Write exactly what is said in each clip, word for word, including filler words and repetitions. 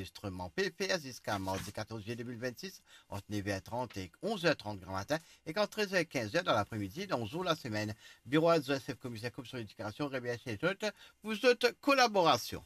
anrezistreman pe fer ziska mardi katorz zilye de mil vennsis, ant nev er trant ek onz er trant gramatin, ek ant trez er ek kinz er dan lapre-midi dan zour lasemenn. Biro adzer sef komiser Komisyon Ledikasion remersie zot pou zot kolaborasion.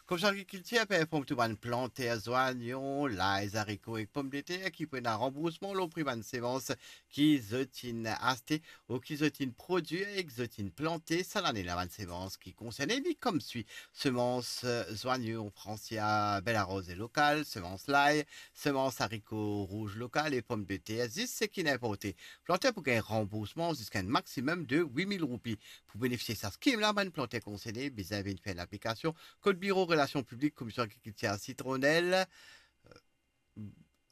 Komisyon Agrikiltir pe inform tou bann planter zwanyon, lay, zariko ek pomdeter ki pou ena ranboursman lor pri bann semans ki zot inn aste ou ki zot inn prodwir ek zot inn plante sa lane la. Bann semans ki konserne li koumsa: semans, eh, zwanyon Francia Bella Rose lokal, semans lay, semans zariko rouz lokal e pomdeter, zis seki inn inporte. Planter pou gagn ranboursman ziska enn maximum de wit mil roupi. Pou benefisie sa skim la, bann planter konserne bizin vinn fer enn aplikasion kot Biro Relasion Piblik Komisyon Agrikiltir Sitronel, eh,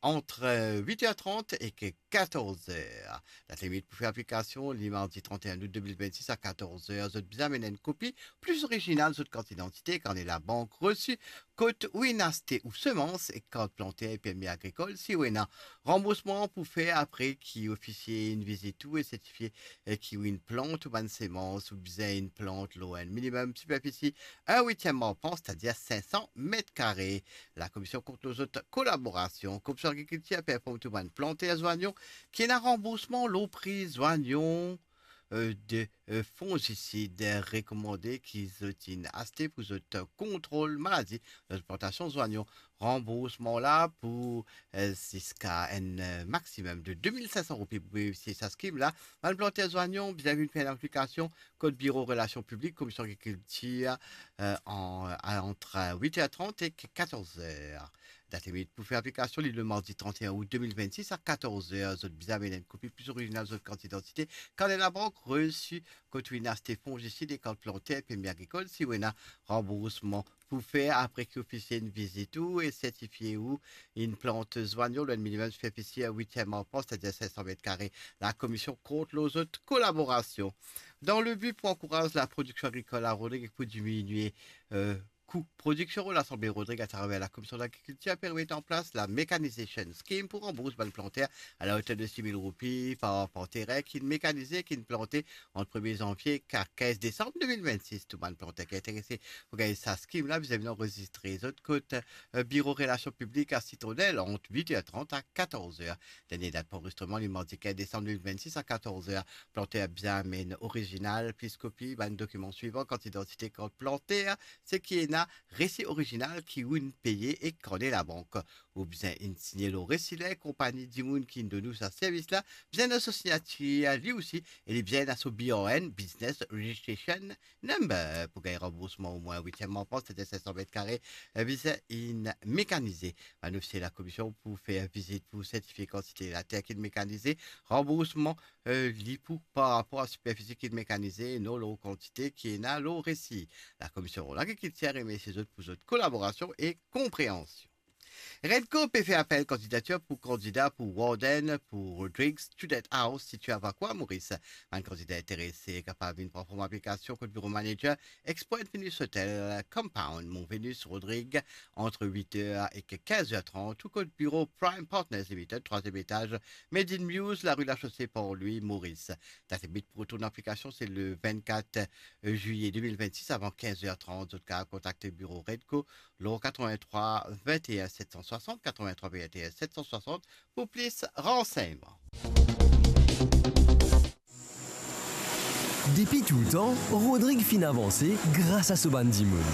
ant, eh, wit er trant ek katorz er. Dat limit pou fer aplikasion, li mardi trant er out de mil vennsis a katorz er. Zot bizin amenn enn kopi pli orizinal zot kart idantite, karne labank, resi kot ou inn aste ou semans, ek kart planter e permi agrikol si ou ena. Ranboursman pou fer apre ki ofisie inn vizit ou e sertifie, eh, ki ou inn plant ou bann semans. Ou bizin inn plant lor enn minimum siperfisi enn witiem arpant, setadir sink san met kare. Lakomision kont lor zot kolaborasion. Komisyon Agrikiltir pe inform tou bann planter zwanyon ki ena ranboursman lor pri zwanyon, eh, de, eh, fongisid rekomande ki zot inn aste pou zot kontrol maladi dan zot plantasion zwanyon. Ranboursman la pou, eh, ziska enn, eh, maximum de de mil sink san roupi pou benefisie sa skim la. Bann planter zwanyon bizin vinn fer enn aplikasion kot Biro Relasion Piblik Komisyon Agrikiltir, eh, an, ant wit er trant ek katorz er. Dat limit pou fer aplikasion, li le mardi trant er out de mil vennsis a katorz er. Zot bizin amenn enn kopi pli orizinal zot kart idantite, karne labank, resi kot ou inn aste fongisid e kart planter permi agrikol si ou ena. Ranboursman pou fer apre ki ofisie inn vizit ou e sertifie ou inn plant zwanyon lor enn minimum siperfisi enn witiem arpant, setadir sink san met kare. Lakomision kont lor zot kolaborasion. Dan le bi pou ankouraz laprodiksion agrikol a Rodrig ek pou diminie, eh, kou prodiksion, Lasanble Rodrig atraver Lakomision Lagrikiltir pe met an plas la Mechanization Scheme pou ranbours bann planter a la oter de sis mil roupi par, par terin ki inn mekanize, ki inn plante ant premie zanvie ek kinz desam de mil vennsis. Tou bann planter ki interese pou gagn sa skim la, bizin vinn anrezistre zot kot, eh, Biro Relasion Piblik a Sitronel ant wit er trant a katorz er. Dernie dat pou anrezistreman, li mardi kinz desam de mil vennsis a katorz er. Planter bizin amenn orizinal plis kopi bann dokiman swivan: kart idantite, kart planter, seki ena, resi orizinal ki ou inn peye ek karne labank. Ou bizin inn signe lor resi la, konpagni dimoun ki inn donn ou sa servis la bizin ena so signatir li osi, e li bizin ena so B R N, Business Registration Number. Pou gagn ranboursman omwin witiem arpant, setadir sink san met kare, eh, bizin inn mekanize. Bann ofisie lakomision pou fer vizit pou sertifie kantite later ki inn mekanize. Ranboursman, eh, li pou par rapor a siperfisi ki inn mekanize, non lor kantite ki ena lor resi. Lakomision Lagrikiltir remersie zot pou zot kolaborasion e konpreansion. Redco pe fer apel kandidatir pou kandida pou Warden pou Rodrigues Student House, sitie a Vacoas, Moris. Bann kandida interese kapav vinn pran form aplikasion kot biro manager Expo and Venus Hotel Compound, Mont Venus, Rodrig, ant wit er ek kinz er trant, ou kot biro Prime Partners Limited, trwaziem etaz, Made in Muse, lari Lachaussee, Port Louis, Moris. Dat limit pou retourn aplikasion se le vennkat zilye de mil vennsis avan kinz er trant. Zot kapav kontakte biro Redco lor katrevintrwa vennteen set san swasant, katrevintrwa vennteen set san swasant pou plis ransegnman. Depi toultan, Rodrig finn avanse gras a so bann dimoun.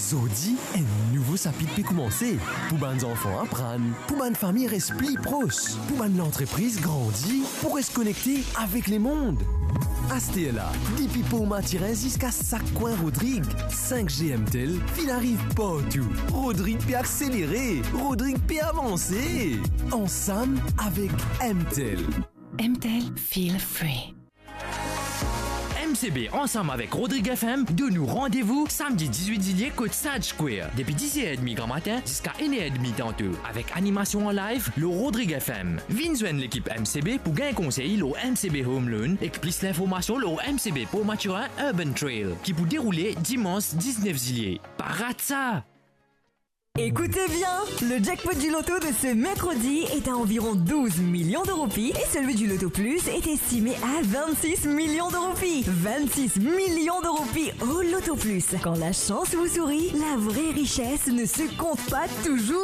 Zordi, enn nouvo sapit pe koumanse. Pou bann zanfan aprann, pou bann fami res pli pros, pou bann lantrepriz grandi, pou res konekte avek lemond. Asterla, depi Port Mathurin ziska sak kwin Rodrig, sink G MTEL finn ariv partou. Rodrig pe akselere, Rodrig pe avanse. Ansam avek MTEL. MTEL, feel free. MCB ansam avek Rodrig FM donn ou randevou samdi diz-wit zilye kot Sage Square, depi diz er edmi gramatin ziska enn er edmi tanto, avek animasion an live lor Rodrig FM. Vinn zwenn lekip MCB pou gagn konsey lor MCB Home Loan ek plis linformasion lor MCB Port Mathurin Urban Trail ki pou deroule dimans diznef zilye. Pa rat sa! Écoutez bien, le jackpot du loto de ce mercredi est à environ douze millions de roupies et celui du Loto Plus est estimé à vingt-six millions de roupies. Vingt-six millions de roupies au Loto Plus. Quand la chance vous sourit, la vraie richesse ne se compte pas toujours